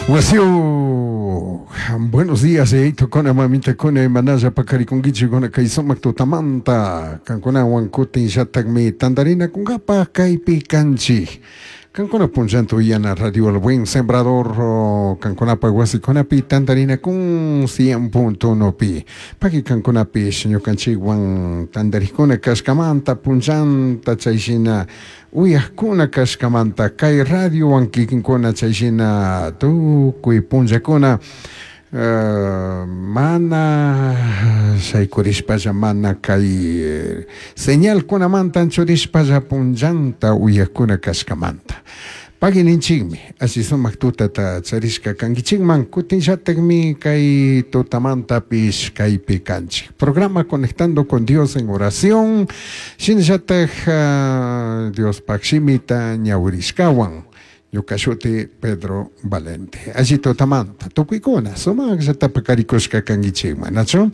Wasiu, buenos días, yayitukuna, mamitakuna, imanalla paqarikunkichikuna kay sumak tutamanta, kankunawan kutinllatakmi tantarinakunkapaj kaypi kanchik. Kankuna punllanta uyana Radio El Buen Sembrador kankunapaj wasikunapi tantarinakun 100.1pi. Paqui kankunapish ñukanchikwan tantarikuna kashkamanta punllanta chayshina uyajkuna kashkamanta kay radiowan kikinkuna chayshina tukuy punllakuna mana shaykurishpalla mana kay señalkunamanta anchurishpalla punllanta uyajkuna kashkamanta. Pagui ninchikmi, alli sumak tutata charishka kankichikman, kutinllatakmi kay tutamantapish kaypi kanchik. Programa Conectando con Dios en Oración, shinallatak Diospak shimita ñawirishkawan. Ñuka shuti Pedro Valente. Alli tutamanta, tukuykuna sumaqllata paqarikushka kankichikman, nachu?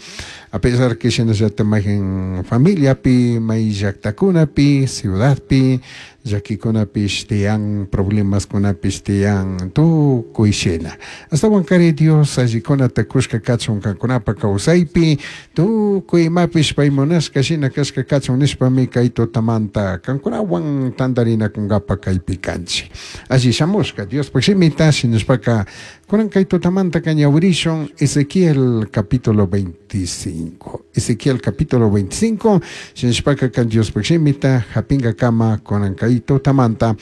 A pesar que shinallata mayqin familiapi, may llaqtakunapi, ciudadpi, llakikunapish tiyan, problemaskunapish tiyan, tukuy shina. Ashtawankari Dios allikunata kushka kachun kankunapa kawsaypi, tukuy imapish pay munashka shina kashka kachun nishpami kay tutamanta kankunawan tantarinakunkapa kaypi kanchik. Alli shamushka Diospaj shimita shinashpaka kunan kay tutamantaka ñawirishun Ezequiel capítulo 25. Ezequiel capítulo 25 shinashpaka kan Diospaj shimita hapinkakama kunan kay tutamanta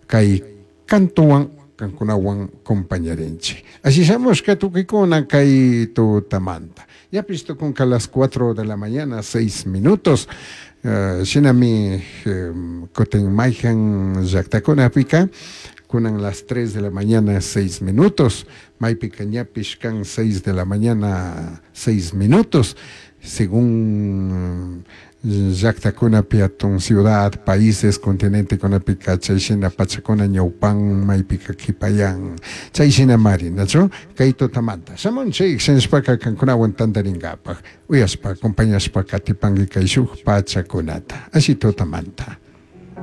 kay kantuwan kankunawan compañarinchik. Alli shamushka tukuykuna kay tutamanta. Ñapish tukunka las 4 de la mañana, 6 minutos. Shinami kutin mayhan llaktakunapika kunan las 3 de la mañana, 6 minutos. Maypika ñapish kan 6 de la mañana, 6 minutos. Según llaktakunapi atun ciudad, países, continentekunapika chayshina pachakuna ñawpan maypika kipayan chayshina mari, nachu? Kay tutamanta. Shamunchik shinashpaka kankunawan tantarinkapaj uyashpa, acompañashpa katipanki kay shuk pachakunata. Alli tutamanta.